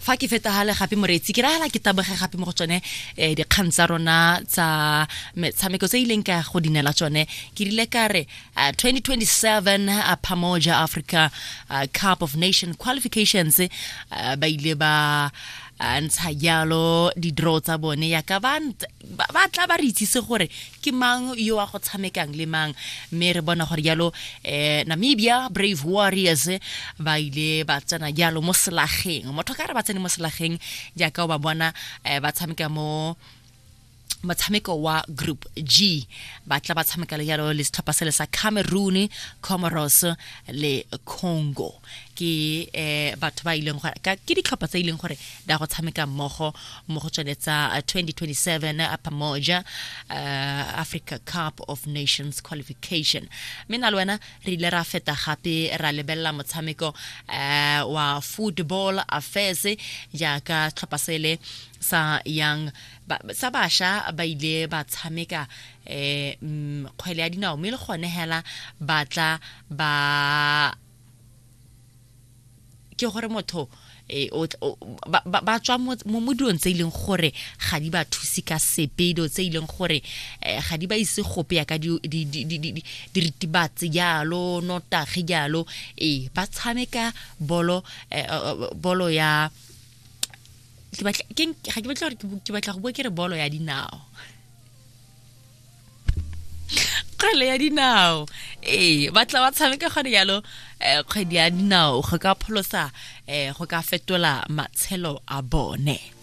Fa ke feta gale gape moreetsi, ke ragala ke taboge gape mo go tsone dikgang tsa rona tsa metshameko tse ileng ka go dinela tsone. Ke rile ka re 2027 Pamoja Africa Cup of Nation qualifications, ba ile ba ntsha jalo di-draw tsa bone yaka ba tla ba re itsise gore ke mang yo a go tshamekang le mang. Mme re bona gore jalo Namibia Brave Warriors ba ile ba tsena jalo mo selageng. Motho ka re ba tsene mo selageng jaaka o ba bona ba tshameka mo motshameko wa Group G. Ba tla ba tshameka le jalo le setlhopha sele sa Cameroon, Comoros le Congo. Ke batho ba ileng gore ke ditlhopha tse ileng gore di a go tshameka mmogo mo go tsone tsa 2027 Pamoja Africa Cup of Nations qualification. Mme na le wena re ile ra feta gape ra lebelela motshameko wa Football Affairs, jaaka tlhopha sele sa Young sa basha ba ile ba tshameka kgwele ya dinao, mme le gone hela ba tla ba ke gore motho ba tswa mo dilong tse e leng gore ga di ba thuse ka sepe, dilo tse e leng gore ga di ba ise gope yaka diritibatsi jalo, notagi jalo. Ee, ba tshameka bolo bolo ya ke batla ga ke batla gore ke batla go bua ke re bolo ya dinao, kgwele ya dinao. Ee, ba tla ba tshameka gone jalo kgwedi ya dinao go ka pholosa go ka fetola matshelo a bone.